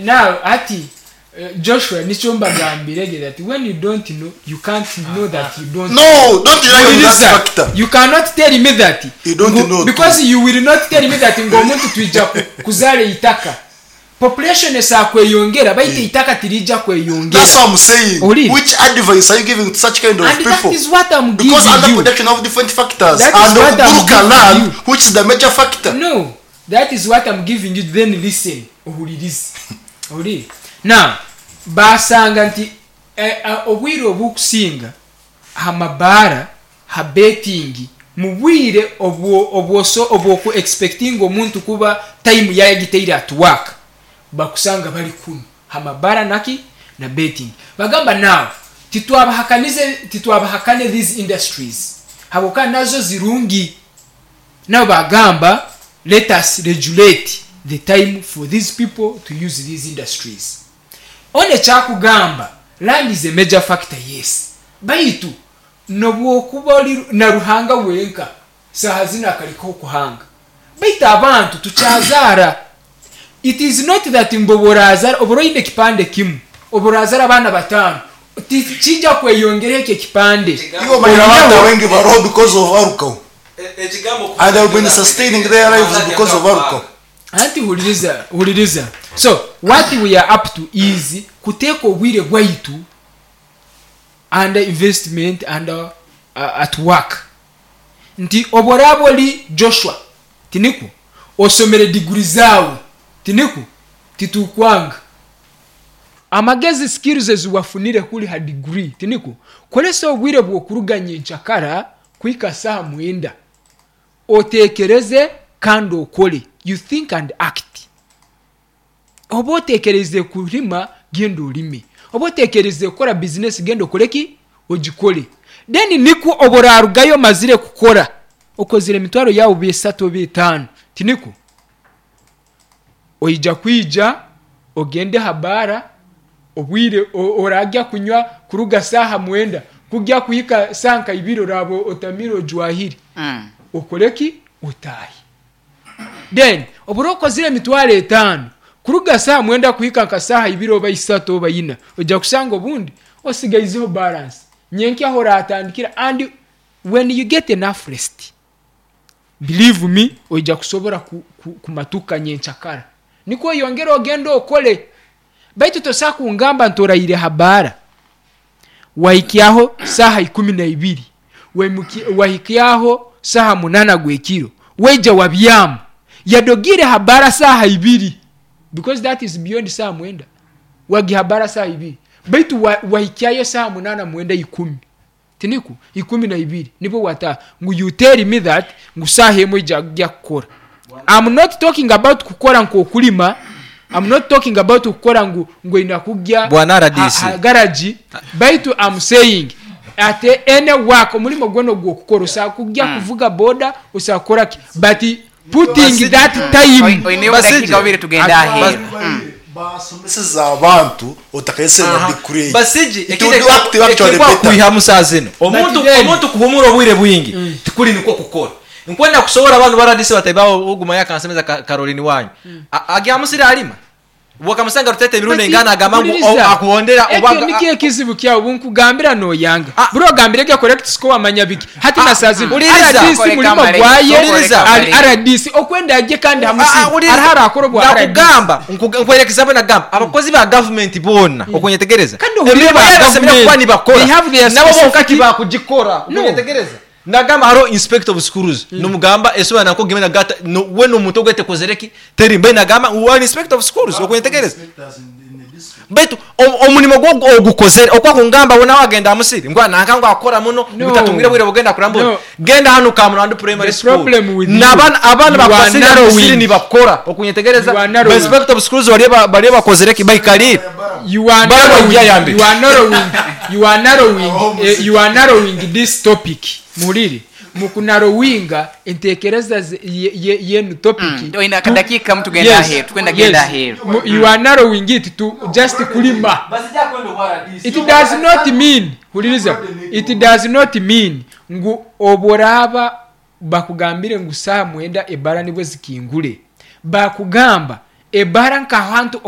Now hati Joshua nikyo mbagambirege that when you don't know, you can't know that you don't No, don't rely on that Huliriza, factor. you cannot tell me that You don't ngu, know because too. you will not tell me that ngu omuntu twija kuzaara eitaka. Population esaa kweyongera, baitu eitaka tirija kweyongera. That's what I'm saying. Ori. Which advice are you giving to such kind of And that people? is what I'm Because giving under you. production of different factors That is and what I'm Buruka giving land, you. which is the major factor. No, that is what I'm giving you. Then listen, ohulirize. Ohulire. Now, basanga nti obwire obukusinga ha mabaara, ha betting, mu bwire obwo obwoso obwoku expecting omuntu kuba time yayagiteire at work, bakusanga bali kunu ha mabaara naki na betting. Bagamba now titwabahakane these industries habwokuba nazo zirungi. Now bagamba let us regulate the time for these people to use these industries. One kyakugamba land is a major factor, yes, baitu nobwokuba oli na Ruhanga wenka saha zino akarekaho kuhanga, baitu abantu tukyazaara. It is not that mbu oburazara oburoine ekipande kimu, oburazara abaana 5 kijja kweyongera ekyo ekipande. Iwo manyira abantu abengi baroho because of alcohol. And they've been sustaining their lives because of alcohol. Anti huliriza, huliriza. So what we are up to is kuteeka obwire bwaitu under investment and at work. Nti oboraba oli Joshua tiniku osomere degree zawe tiniku titukwanga amagezi skills eziwafunire kuli ha degree tiniku kolesa obwire bw'okuruganya enchakara kuhika saha 9 otekereze kandi okole. You think and act. Oba otekereze kulima, genda olime. Oba otekereze kukora business, genda okoleki ogikole. Then niko oborarugayo mazire kukora okozire emitwaro yawe 3 oba 5 tiniko oija kwija ogende habara obwire orajya kunywa kuruga saha 9 kujya kuhika sanka 2 orabo otamire ojwahire. Okoleki utahi. Then oburo okozire emitwaro 5 kuruga saha 9 kuhika nka saha 2 oba 3 oba 4 ojja kusanga obundi osigaizeho balance nyenki aho oratandikira. And when you get enough rest, believe me, ojja kusobora kumatuka nyenchakara niko yongera ogenda okole. Baitu tosa kungamba ntoraire habara wahikyaho saha 12, wahikyaho saha 8 gwekiro, weja wabyamu yadogire habara saha 2, because that is beyond saha 9 wagi habara saha 2, baitu wahikyayo saha 8 9 10 tiniku 12 nibo wata ngu you tell me that ngu saha emwe ijya kukora. I'm not talking about kukora nkokulima. I'm not talking about kukora ngu inakujya Bwana RDC. Garage. Baitu I'm saying at any work omulimo gwono gwokukora osakujya kuvuga boda osakora ki, but putting that time Oine Basije. dakika 2 tugenda aheru. Basomeseza abantu otakayesera degree. Basije It would work to actually better. kwiha musaza ino. Omuntu then- omuntu kuhumura obwire bwingi tikuri niko kukora. Nkwenda kusobola abantu baradisi bataibaho oguma yakansemeza Caroline wanyu. Agya musira alima. Wakamusanga rutete emirundi engana agamba ngu akuhondera oba oba nikyo ekizibu kyawe bunkugambira noyanga. Ah. Buri ogambire ge correct score amanya biki. Hati na saa zino Uliriza. RDC Koleka mulimo amalenge. gwaye Uliriza. ari RDC okwenda ajye kandi hamusi arahara akora bwa RDC. Nakugamba nkwereka example nagamba abakozi ba government bona okunyetegereza. Kandi ohurire Emirimo ba yabo basemera government. kuba nibakora. They have their Nabo specific bonka tibakugikora. No. Okunyetegereza. Nagamba haro inspector of schools nomugamba esoba nako gemena gata no, we no muntu ogwete kozereki teri mbe nagamba wa inspector of schools okunyetegereza. Baitu omulimo gwo ogukozere okwa kungamba wona wagenda musiri ngwa nanka ngo akora muno No. ngutatungire bwire bugenda kurambura No. genda hano Kamurandu primary The school problem with you, nabana abana you are bakwasira narrowing. musiri nibakora okunyetegereza You are narrowing. inspector of schools bari bari bakozereki bayikarire You are Bara narrowing, bajya yambi. you are narrowing, you are narrowing, you are narrowing this topic. Muliri mukunarowinga entekereza yenu topic. Oine akadakika mtu genda Yes, aheru, twenda genda yes. aheru. You are narrowing it to just kulima. It does not mean, huliriza, it does not mean ngu oboraba bakugambire ngu saa 9 ebara nibwe zikingule. Bakugamba Ebara nkahantu.